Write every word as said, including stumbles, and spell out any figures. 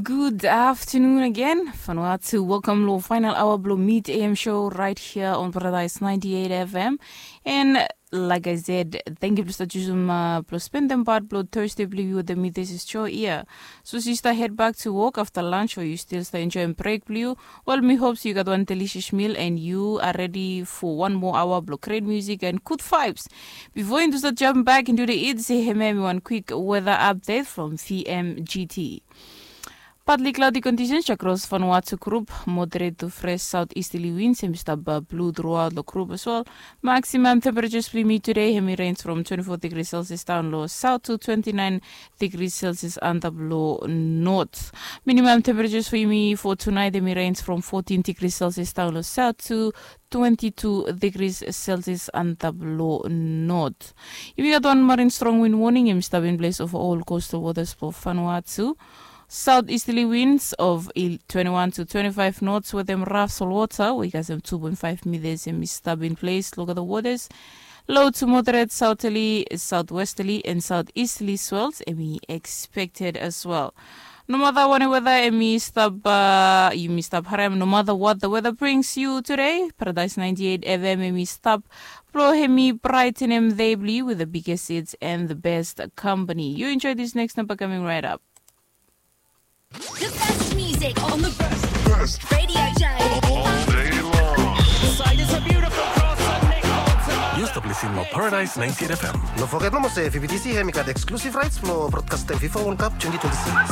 Good afternoon again. Fanua tu, welcome lo final hour blo Mid A M show right here on Paradise ninety-eight F M. And like I said, thank you blo stap jusum uh, blo spendem part blo Thursday blo yu wetem mi. This is Joy here. So yu stap head back to work after lunch, o yu still stap enjoying break blo yu? Well, mi hope yu gat one delicious meal and yu are ready for one more hour blo great music and good vibes. Before yu stap jump back into the it, se hemia hemi one quick weather update from V M G T. Partly cloudy conditions across Vanuatu group, moderate to fresh southeasterly winds hemi stap blo throughout the group as well. Maximum temperatures blo yumi today hemi range from twenty-four degrees Celsius down lo south to twenty-nine degrees Celsius antap lo north. Minimum temperatures for yumi for tonight hemi range from fourteen degrees Celsius down lo south to twenty-two degrees Celsius antap lo north. Yumi gat one marine strong wind warning hemi stap in place over all coastal waters for Vanuatu. Southeasterly winds of twenty-one to twenty-five knots wetem rough soil water wey kasem two point five meters hemi stap in place lo the waters. Low to moderate southerly, southwesterly and southeasterly swells hemi expected as well. Nomata wanem weather hemi stap, uh, yumi stap harem, nomata what the weather brings you today, Paradise ninety-eight F M hemi stap blo hemi brightenem dei blo yu with the biggest hits and the best company. You enjoy this next number coming right up. The best music on the best radio show. All day long. Yu stap lisin lo Paradise ninety-eight F M. No foget nomo se V B T C hemi gat exclusive rights blo broadcastem FIFA World Cup twenty twenty-six.